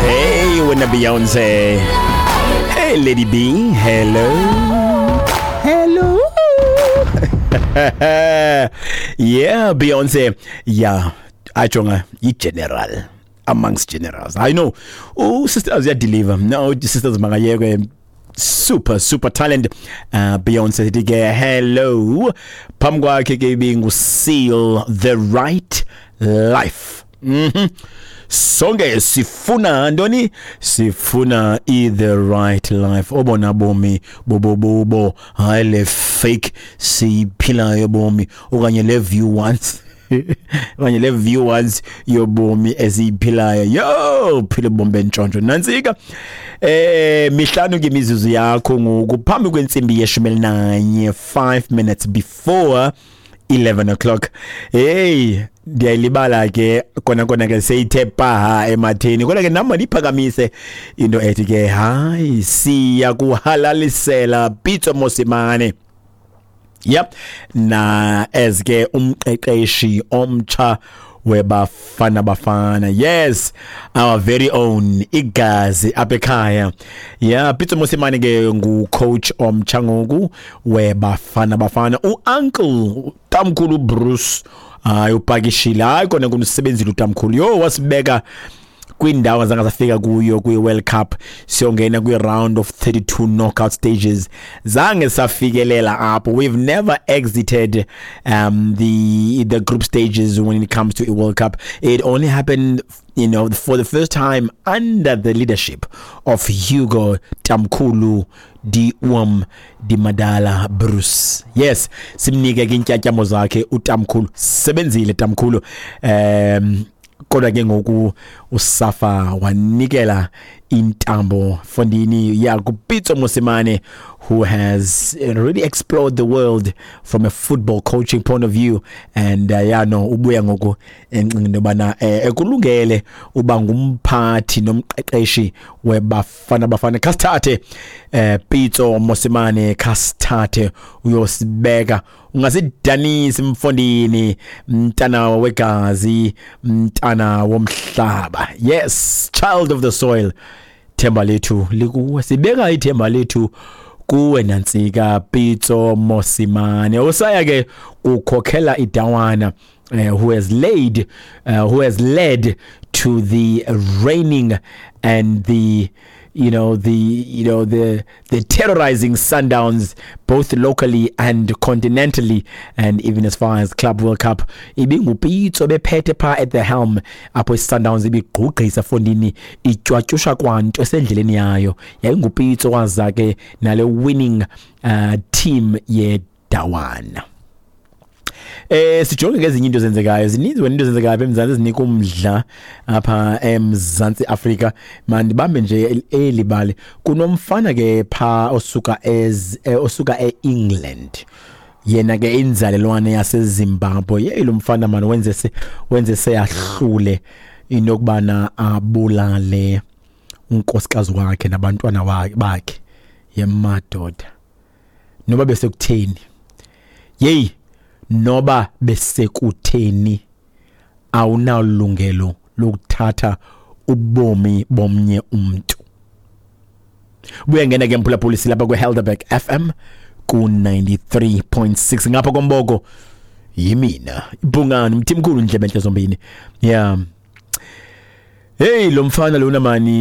Hey wena Beyonce. Hey Lady B, hello. Hello. Yeah, Beyonce. Yeah, ajonga i-general amongst generals. I know. Oh, sisters deliver. No, sisters makayekwe, super super talent. Beyonce sithi ke hello. Phambi kwakhe ke ibingu Seal, The Right Life. Sonke sifuna ntoni? Sifuna i the right life, obona bomi bobobubo, hayi le fake siyiphilayo bomi, okanye le view once, okanye le view once yobomi esiyiphilayo. Yo, phila ubomi bentshontsho. Nantsika, 5 ke imizuzu yakho ngoku phambi kwentsimbi ye-11, 5 minutes before 11 o'clock. Hey, ndiyayilibala ke kona kona ke, seyithe paha ematheni, kodwa ke nam mandiyiphakamise into ethi ke hayi, siya kuhalalisela Pitso Mosimane, yep, na as ke umqeqeshi omtsha weBafana Bafana. Yes, our very own igazi apha ekhaya. Yeah, Pitso Mosimane ke ngu-coach omtsha ngoku weBafana Bafana. U-uncle Tamkhulu Bruce, hayi, upakishile. Hayi kona kunisebenzile utamkhulu. Yo, wasibeka kwindawo azange safika kuyo kwi-World Cup, siyongena kwi-round of 32 knockout stages, zange safikelela apho. We've never exited the group stages when it comes to a World Cup. It only happened for the first time under the leadership of Hugo Tamkhulu di Oom di Madala Bruce. Yes, simnike ke intyatyambo zakhe utamkhulu. Sebenzile tamkhulu. Kodwa ke ngoku uSAFA wanikela intambo fondini ya kuPitso Mosimane, who has really explored the world from a football coaching point of view, and yeah, no, ubuya ngoku encinga into yobana ekulungele uba ngumphathi nomqeqeshi weBafana Bafana. Khasithathe, Pitso Mosimane, khasithathe uyosibeka, ungasidanisi mfondini, mntana wegazi, mntana womhlaba. Yes, child of the soil, themba lethu likuwe, sibeka ithemba lethu kuwe. Nantsika, Pitso Mosimane usaya ke kukhokhela idawana, who has led to the reigning and the you know the you know the terrorizing Sundowns, both locally and continentally, and even as far as Club World Cup. IbinguPitso bephethe pha at the helm apho iSundowns ibigqugqisa fondini, itywatyusha kwanto esendleleni yayo. YayinguPitso waza ke nale winning team yedawana. Sijonge ngezinye into ezenzekayo. Zininzi wena into ezenzekayo apha eMzantsi ezinika umdla apha eMzantsi Afrika. Mandibambe nje eli bali. Kunomfana ke pha osuka eEngland, yena ke inzalelwane yaseZimbabwe. Yeyi, lo mfana mani wenze seyahlule into yokubana abulale unkosikazi wakhe nabantwana bakhe. Yemadoda, noba besekutheni, yeyi, noba besekutheni, awunalungelo lokuthatha ubomi bomnye umntu. Buya ngena ke mphulaphuli, silapha kwi-Helderberg FM ku-93.6 ngapha komboko. Yimina ibhungane mthimkhulu, ndlebe entle zombini. Yeah, hey, lo mfana lona mani.